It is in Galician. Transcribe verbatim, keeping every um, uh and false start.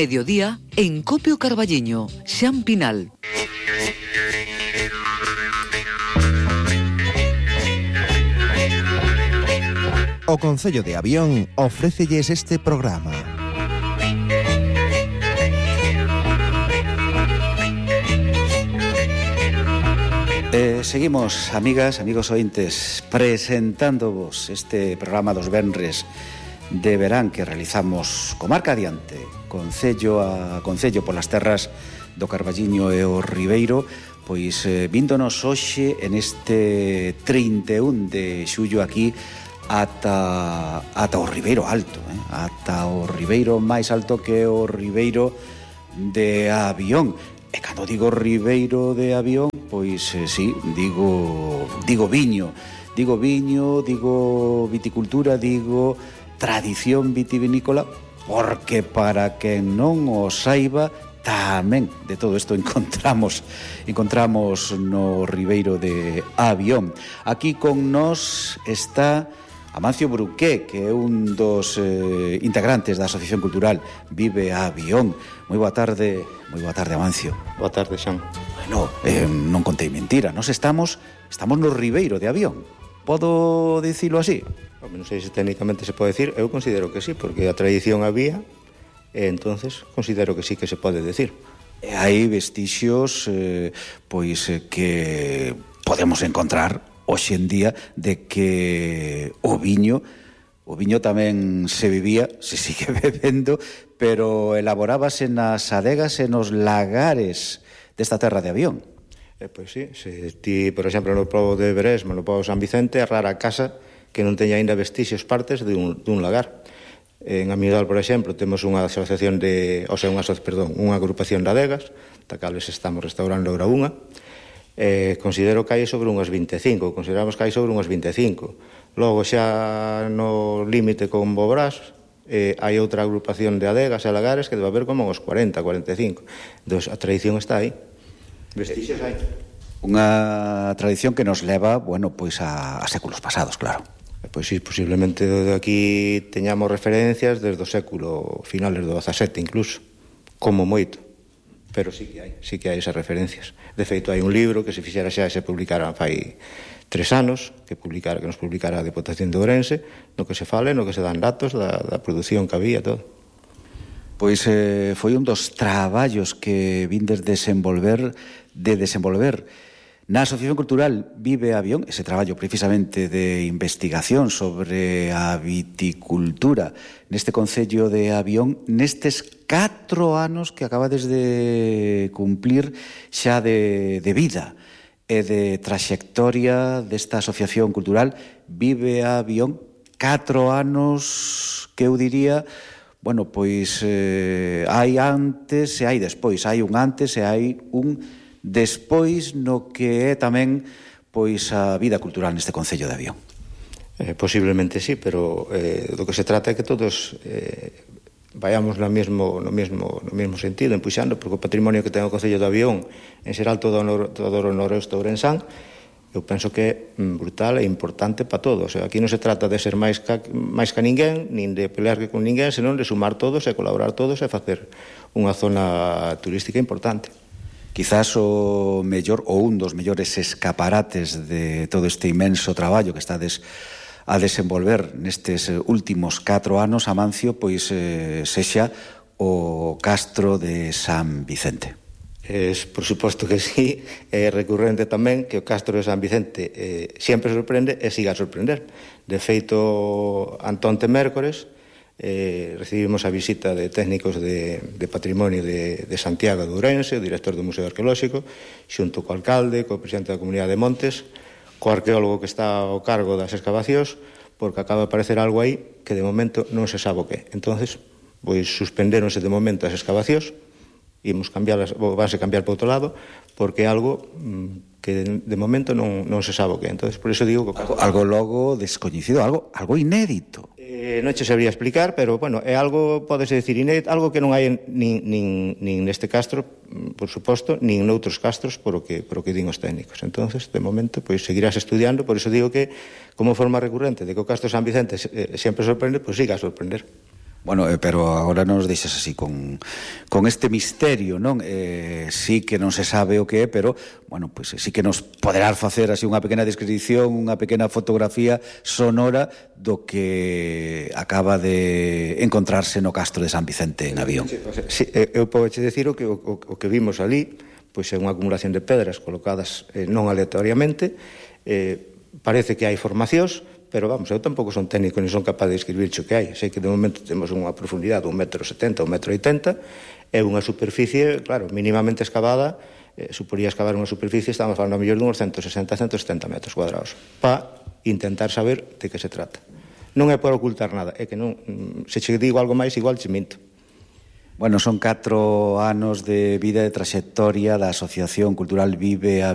Mediodía en Copio Carballiño, Xan Pinal. O Concello de Avión ofrécelles este programa. Eh, seguimos, amigas, amigos ointes, presentándovos este programa dos venres de verán que realizamos comarca adiante, concello a concello polas terras do Carballiño e o Ribeiro, pois eh, víndonos hoxe en este trinta e un de xullo aquí ata, ata o Ribeiro Alto, eh? ata o Ribeiro máis alto que o Ribeiro de Avión. E cando digo Ribeiro de Avión, pois eh, sí, digo, digo viño, digo viño, digo viticultura, digo tradición vitivinícola, porque para quen non o saiba, tamén de todo isto encontramos encontramos no Ribeiro de Avión. Aquí con nós está Amancio Bruqué, que é un dos eh, integrantes da Asociación Cultural Vive Avión. Moi boa tarde, moi boa tarde, Amancio. Boa tarde, Xan. Bueno, eh, non contei mentira, nós estamos estamos no Ribeiro de Avión. Podo dicilo así? Non sei se técnicamente se pode decir, eu considero que sí, porque a tradición había, e entonces considero que sí que se pode decir. E hai vestixios eh, pois eh, que podemos encontrar hoxe en día de que o viño o viño tamén se vivía, se sigue bebendo, pero elaborábase nas adegas e nos lagares desta terra de Avión. Eh, pois sí, se ti, por exemplo, no pobo de Beresma, no pobo de San Vicente, é rara a casa que non teña ainda vestixios partes de un, dun lagar. En Amigal, por exemplo, temos unha asociación de, o sea, unha, perdón, unha agrupación de adegas, da cales estamos restaurando agora unha. Eh, considero que hai sobre unhas vinte e cinco, consideramos que hai sobre unhas vinte e cinco. Logo xa no límite con Bobrás, eh, hai outra agrupación de adegas e lagares que debe haber como uns cuarenta, cuarenta e cinco. Entón, a tradición está aí. Vestixios hai. Unha tradición que nos leva, bueno, pois a, a séculos pasados, claro. Pois sí, posiblemente de aquí teñamos referencias desde o século finales do dezasete incluso, como moito. Pero sí que hai, sí que hai esas referencias. De feito, hai un libro que se fixera xa e se publicara fai tres anos, que publicara, que nos publicara a Deputación de Ourense, no que se fale, no que se dan datos da, da produción que había, todo. Pois eh, foi un dos traballos que vindes desenvolver, de desenvolver na Asociación Cultural Vive Avión, ese traballo precisamente de investigación sobre a viticultura neste concello de Avión, nestes catro anos que acabades de cumplir xa de, de vida e de traxectoria desta Asociación Cultural Vive Avión, catro anos que eu diría, bueno, pois eh, hai antes e hai despois, hai un antes e hai un despois no que é tamén pois a vida cultural neste concello de Avión. Eh, posiblemente sí, pero eh, do que se trata é que todos eh, vayamos no mesmo, no, mesmo, no mesmo sentido, empuxando, porque o patrimonio que ten o concello de Avión, en xeral todo o, nor, todo o noroeste ourensán, eu penso que é brutal e importante para todos. Aquí non se trata de ser máis ca, máis que ninguén, nin de pelear con ninguén, senón de sumar todos e colaborar todos e facer unha zona turística importante. Quizás o mellor ou un dos mellores escaparates de todo este inmenso traballo que estades a desenvolver nestes últimos catro anos, Amancio, pois eh, sexa o Castro de San Vicente. Es, por suposto que sí, é recurrente tamén que o Castro de San Vicente eh, sempre sorprende e siga a sorprender. De feito, antonte mércores, Eh, recibimos a visita de técnicos de, de patrimonio de, de Santiago de Ourense, o director do Museo Arqueolóxico, xunto co alcalde, co presidente da Comunidade de Montes, co arqueólogo que está ao cargo das excavacións, porque acaba de aparecer algo aí que de momento non se sabe o que. Entonces, pois suspendéronse de momento as excavacións, imos cambiarlas, vanse cambiar para outro lado, porque é algo mmm, que de, de momento non, non se sabe o que. Entonces, por eso digo que algo, algo logo descoñecido, algo algo inédito. Eh, non che sabría explicar, pero, bueno, é algo, podese decir, inédito, algo que non hai nin, nin, nin neste castro, por suposto, nin noutros castros, por o que, por o que din os técnicos. Entonces, de momento, pois, seguirás estudiando, por iso digo que, como forma recurrente de que o Castro San Vicente eh, sempre sorprende, pois siga a sorprender. Bueno, eh, pero agora non nos deixas así con, con este misterio, non? Eh, sí que non se sabe o que é, pero, bueno, pues, sí que nos poderás facer así unha pequena descripción, unha pequena fotografía sonora do que acaba de encontrarse no Castro de San Vicente en Avión. Sí, eu podo che decir o que, o, o que vimos ali, pois é unha acumulación de pedras colocadas eh, non aleatoriamente, eh, parece que hai formacións, pero vamos, eu tampouco son técnico ni son capaz de describir o que hai. Sei que de momento temos unha profundidade de un metro setenta, un metro oitenta, é unha superficie, claro, mínimamente excavada, eh, suporía excavar unha superficie, estamos falando a mellor de uns ciento sesenta a ciento setenta metros cuadrados, para intentar saber de que se trata. Non é por ocultar nada, é que non, se che digo algo máis, igual che minto. Bueno, son catro anos de vida e trayectoria da Asociación Cultural Vive Avión